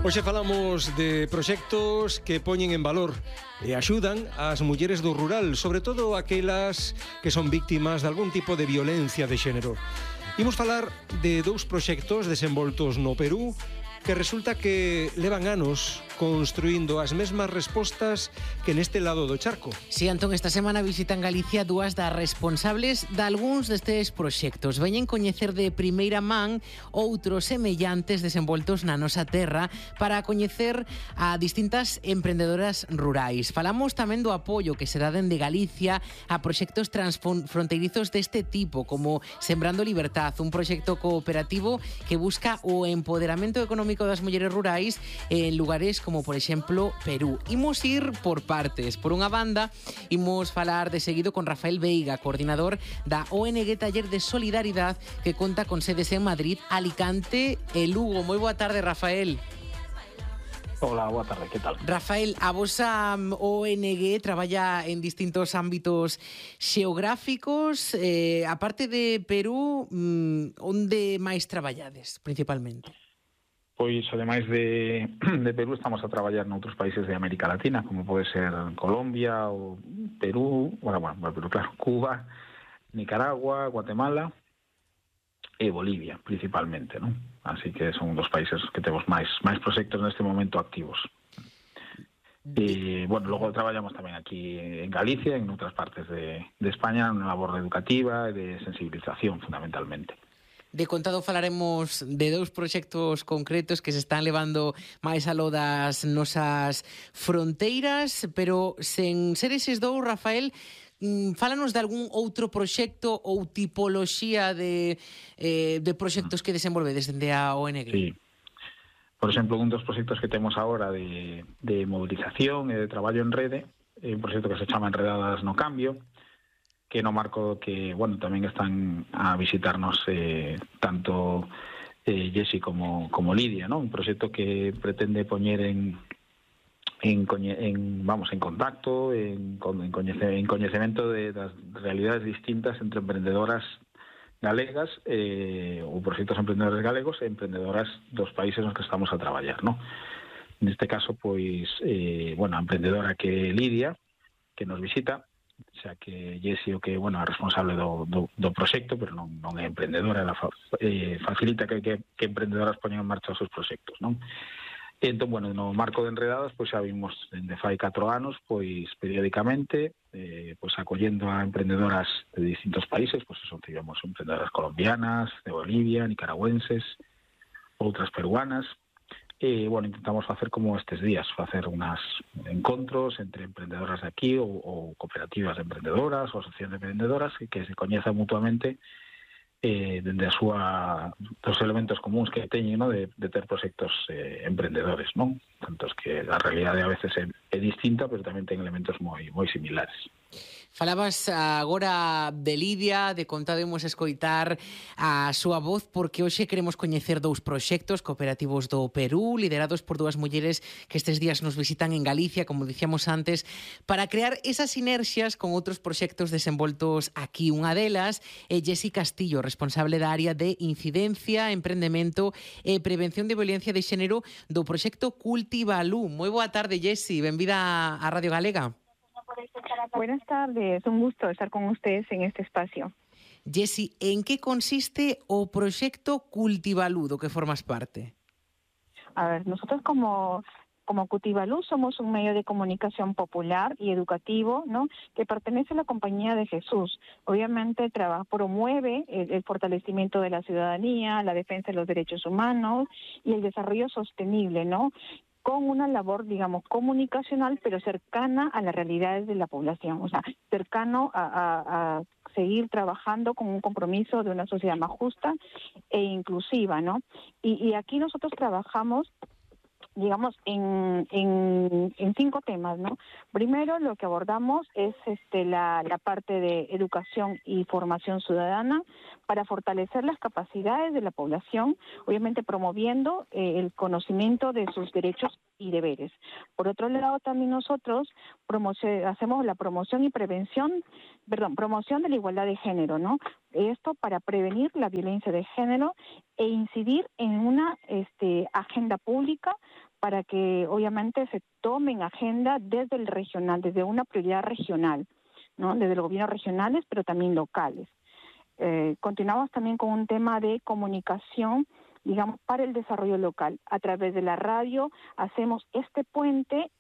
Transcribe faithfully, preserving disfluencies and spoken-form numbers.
Hoxe falamos de proxectos que poñen en valor e axudan ás mulleres do rural, sobre todo aquelas que son víctimas de algún tipo de violencia de xénero. Imos falar de dous proxectos desenvoltos no Perú que resulta que levan anos construindo as mesmas respostas que neste lado do charco. Si, Antón, esta semana visitan Galicia dúas das responsables de algúns destes proxectos. Veñen coñecer de primeira man outros semellantes desenvoltos na nosa terra para coñecer a distintas emprendedoras rurais. Falamos tamén do apoio que se dá dende Galicia a proxectos transfronteirizos deste tipo, como Sembrando Libertad, un proxecto cooperativo que busca o empoderamento económico das mulleres rurais en lugares como, por exemplo, Perú. Imos ir por partes. Por unha banda, imos falar de seguido con Rafael Veiga, coordinador da O N G Taller de Solidaridade, que conta con sedes en Madrid, Alicante e Lugo. Moi boa tarde, Rafael. Hola, boa tarde, que tal? Rafael, a vosa O N G traballa en distintos ámbitos xeográficos. Eh, a parte de Perú, onde máis traballades, principalmente? Pois, ademais de, de Perú, estamos a traballar noutros países de América Latina, como pode ser Colombia ou Perú, bueno, bueno, pero claro, Cuba, Nicaragua, Guatemala e Bolivia, principalmente, non? Así que son dos países que temos máis máis proxectos neste momento activos. E, bueno, logo traballamos tamén aquí en Galicia, en outras partes de, de España, na labor educativa e de sensibilización, fundamentalmente. De contado falaremos de dous proxectos concretos que se están levando máis aló das nosas fronteiras, pero sen ser eses dous, Rafael, fálanos de algún outro proxecto ou tipoloxía de, eh, de proxectos que desenvolvedes dende a O N G. Sí. Por exemplo, un dos proxectos que temos agora de, de movilización e de traballo en rede é un proxecto que se chama Enredadas no Cambio, que no marco que, bueno, tamén están a visitarnos eh, tanto eh, Jessy como, como Lidia, ¿no? Un proxecto que pretende poñer en, en, en vamos, en contacto, en, en, coñece, en coñecemento de das realidades distintas entre emprendedoras galegas eh, ou proxectos emprendedores galegos e emprendedoras dos países nos que estamos a traballar, ¿no? Neste caso, pois, eh, bueno, a emprendedora que é Lidia, que nos visita, xa que Jessy o que, bueno, é responsable do, do, do proxecto, pero non, non é emprendedora, ela fa, eh, facilita que, que, que emprendedoras poñan en marcha os seus proxectos, non? E entón, bueno, no marco de Enredadas, pois xa vimos dende fai catro anos, pois periódicamente, eh, pois acollendo a emprendedoras de distintos países, pois eso, tivemos emprendedoras colombianas, de Bolivia, nicaragüenses, outras peruanas. E, bueno, intentamos facer como estes días, facer unas encontros entre emprendedoras de aquí ou, ou cooperativas de emprendedoras ou asociacións de emprendedoras que, que se coñezan mutuamente eh, dende a súa dos elementos comuns que teñen, ¿no? de, de ter proxectos eh, emprendedores, non? Tantos que a realidade a veces é, é distinta, pero tamén ten elementos moi moi similares. Falabas agora de Lidia, de contado imos escoitar a súa voz, porque hoxe queremos coñecer dous proxectos cooperativos do Perú, liderados por dúas mulleres que estes días nos visitan en Galicia, como dicíamos antes, para crear esas sinerxias con outros proxectos desenvoltos aquí. Unha delas é Jessy Castillo, responsable da área de incidencia, emprendemento e prevención de violencia de xénero do proxecto Cultivalú. Moi boa tarde, Jessy, benvida a Radio Galega. Buenas tardes, un gusto estar con ustedes en este espacio. Jessy, en que consiste o proxecto Cultivalú do que formas parte? A ver, nosotros como, como Cultivalú somos un medio de comunicación popular y educativo, ¿no? Que pertenece a la Compañía de Jesús. Obviamente trabaja, promueve el, el fortalecimiento de la ciudadanía, la defensa de los derechos humanos y el desarrollo sostenible, ¿no? Con una labor, digamos, comunicacional, pero cercana a las realidades de la población, o sea, cercano a, a, a seguir trabajando con un compromiso de una sociedad más justa e inclusiva, ¿no? Y, y aquí nosotros trabajamos, digamos, en, en, en cinco temas, ¿no? Primero, lo que abordamos es este, la, la parte de educación y formación ciudadana para fortalecer las capacidades de la población, obviamente promoviendo eh, el conocimiento de sus derechos y deberes. Por otro lado, también nosotros hacemos la promoción y prevención, perdón, promoción de la igualdad de género, ¿no? Esto para prevenir la violencia de género e incidir en una este, agenda pública para que obviamente se tomen agenda desde el regional, desde una prioridad regional, ¿no? Desde los gobiernos regionales, pero también locales. Eh, continuamos también con un tema de comunicación, digamos, para el desarrollo local. A través de la radio hacemos este puente